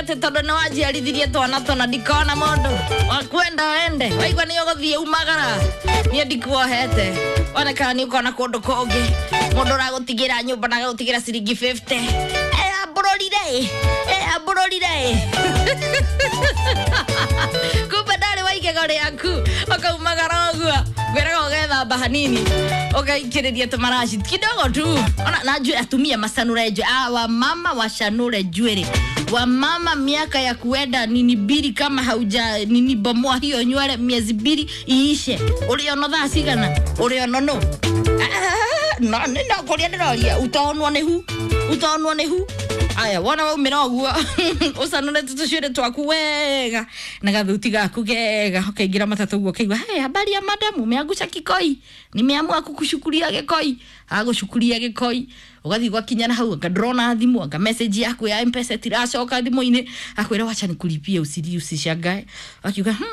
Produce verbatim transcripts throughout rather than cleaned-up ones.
Atä tondå nä wanjiarithirie twana twana ndikona må ndå wakwenda wende waigua nä å gå thiä umagara niä ndikuohete onekana nä å kona kå ndå kå ngä må ndå å ragå tigä ra nyå mba na agagå tigä ra ciringi fifty ambå rorire ambå rorire kumbe ndarä wa igego rä aku ũkaumagara ũguo ngwĩraga ũgethamba hanini ũgaikĩrĩria tũmaraci kidogo tu ona na njuĩrĩ atumia macanũre njuĩrĩ ah, wamama wacanũre njuĩrĩ wamama miaka ya kuenda nini mbili kama hauja nini bomoa hiyo nywele miezi mbili iishe ũrĩono thaa cigana ũrĩono nũ Ah, no nĩ no kũrĩa ndĩroria utaonwo nĩ hu utaonwo nĩ hu aya wona waumĩra ũguo ũcanũrĩte tũcuĩrĩ twaku wega na gathuti gaku gega ũkaingĩra matatũ ũguo ũkaigua hey, habari ya madamu umeangusha kikoi nimeamua kukushukuria gĩkoi agũcukuria gĩkoi ũgathiĩ gwakinya na hau anga ndũrona thimũ anga message yaku ya mpesa tiracoka thimũ-inĩ akwĩra wacha nikulipie usili usishangae akiuga hmm,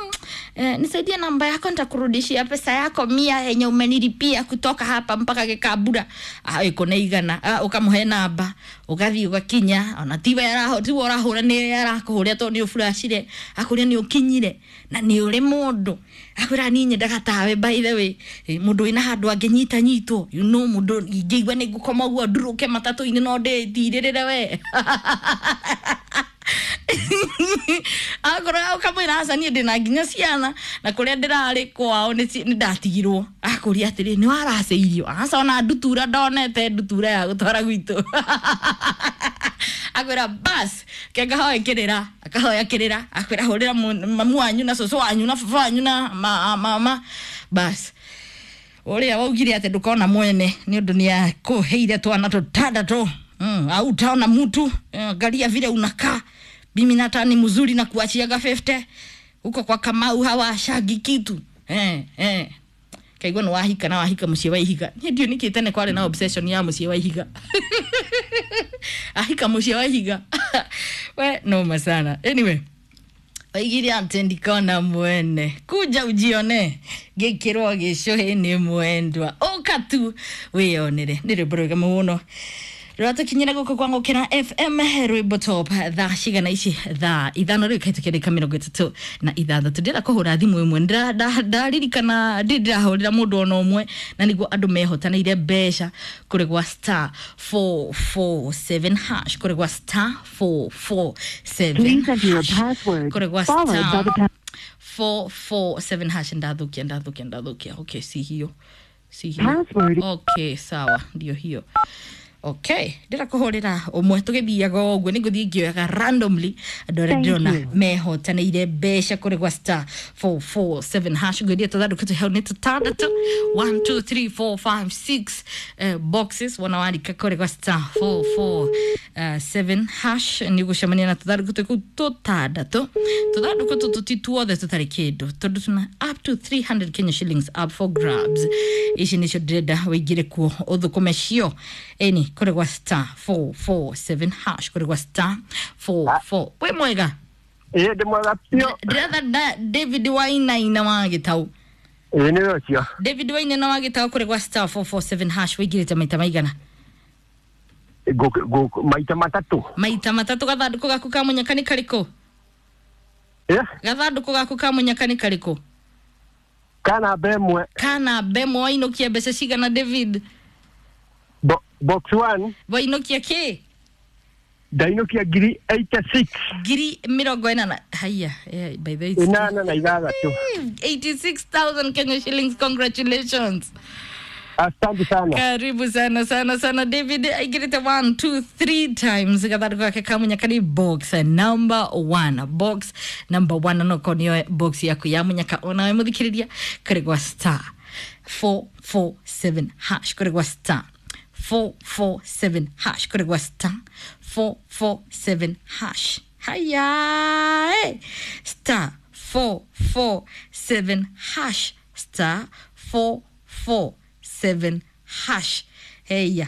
eh, nisaidie namba yako nitakurudishia pesa yako mia yenye umenilipia kutoka hapa mpaka gĩkambura ah, ĩko nĩ igana ah, ũkamũhe namba ũgathiĩ ũgakinya ona tiwe araho tiwe ũrahũra nĩ arakũhũrĩa tondũ nĩ ũburacire akũrĩa nĩ ũkinyire na nĩ ũrĩ mũndũ akwĩra niĩ nyendaga tawe by the way Eh, mũndũ wĩna handũ angĩnyita nyitwo you know mũndũ ingĩigua nĩ ngũkoma ũguo ndurũke matatũ-inĩ no ndĩtirĩrĩre we akorwo ũkamwĩra aca niĩ ndĩna nginya ciana na kũrĩa ndĩrarĩ kwao nĩ ci- nĩ ndatigirwo akũria atĩrĩ nĩ waracĩirio aca ona ndutura ndonete ndutura ya gũtwara gwitũ akwĩra bas ke ngahoe kĩrĩra akahoya kĩrĩra akwĩra hũrĩra mu- mamu wanyu na cũcũ wanyu na baba wanyu na ma- mama bas ũrĩa waugire atĩ ndũkona mwene nĩ ũndũ nĩ akũheire twana tũtandatũ mm, au utaona mtu eh, angalia vile unakaa mimi nata ni mzuri na kuachiaga fifty huko kwa Kamau hawashagi kitu eh, eh kaigua nĩ wahika na wahika mũciĩ wa ihiga niĩ ndiũ nĩkĩ tene kwarĩ na obsession ya mũciĩ wa ihiga ahika mũciĩ wa ihiga we noma sana anyway oigire atĩ ndikona mwene kuja ujione gĩkĩrwo gĩcũhĩ nĩ mwendwa ũka tu wĩyonere nĩ rwĩmbo rwega mũno rwatũkinyĩra gũkũ kwa ngũkĩra fm rwĩmbo top thaa cigana ici thaa ithano rĩu kaitũkia ndagĩka mĩrongo ĩtatũ na ithathatũ ndĩrenda kũhũra thimũ ĩmwe Ndĩra- nda- ndaririkana ndĩ ndĩrahũrĩra mũndũ ona ũmwe na nĩguo andũ mehotanĩire mbeca kũrĩ gwa star four four seven hash kũrĩ gwa star four four seven Please enter your hash password, kũrĩ gwa followed by star the pound. four four seven hash ndathukia ndathukia ndathukia okay si hiyo si hiyo Password. okay sawa ndio hiyo okay ndĩra kũhũrĩra ũmwe tũgĩthiaga o ũguo nĩ ngũthiĩ ngĩoyaga randomly andũ arĩa Thank ndĩrona you. mehotanĩire mbeca kũrĩ gwa star four four seven hash ngwĩria tũthandũkũ twĩ hau nĩ tũtandatũ one two three four five six eh, boxes wona warika kũrĩ gwa star four four eh, seven hash nĩ ũgũcemania na tũthandũkũ twĩ kũu tũtandatũ tũthandũkũ tũtũ ti tuothe tũtarĩ kĩndũ tondũ tuna up to three hundred Kenya shillings up for grabs ici nĩcio ndĩrenda wĩingĩre kuo ũthũkũme cio ĩni kũrĩ gwa star four four seven hash kũrĩ gwa star four four wĩ mwega ĩĩ ndĩ mwega biũ ndĩretha da- David Wainaina wa Gĩtau ĩĩ nĩwe ũcio David Wainaina wa Gĩtau kũrĩ gwa star four four seven hash wĩingĩrĩte maita maigana Ngũ- ngũ- maita matatũ maita matatũ gathandũkũ gaku ka mũnyaka nĩ karĩkũ ĩ gathandũkũ gaku ka mũnyaka nĩ karĩkũ ka namba ĩmwe kana mbemwe wainũkia mbeca cigana David Bo- box one wainũkia kĩ ndainũkia ngiri eighty six ngiri mĩrongo ĩnana haya yeah, by the way, it's ĩnana na ithathatũ eighty-six thousand Kenya shillings congratulations asante sana karibu sana sana sana David aingĩrĩte one two three times gathandũkũ gake ka mũnyaka nĩ box number one box number one no korwo nĩyo box yaku ya mũnyaka onawe mũthikĩrĩria kũrĩ gwa star four four seven hash kũrĩ gwa star four four seven hash kũrĩ gwa star four four seven hash haya eh. star four four seven hash star four four seven hash heya